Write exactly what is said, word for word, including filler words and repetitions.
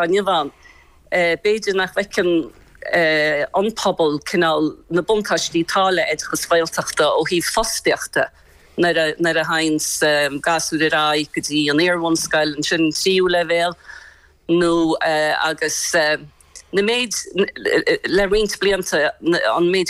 Inniu ann. B'fhéidir nach bhfeiceann an pobal cineál na buntáistí atá le oideachas Gaeltachta ó thaobh fostaíochta nuair a théann gasúir ar aghaidh go dtí an iarbhunscoil, ansin tríú leibhéal nó agus na méid le roinnt blianta an méid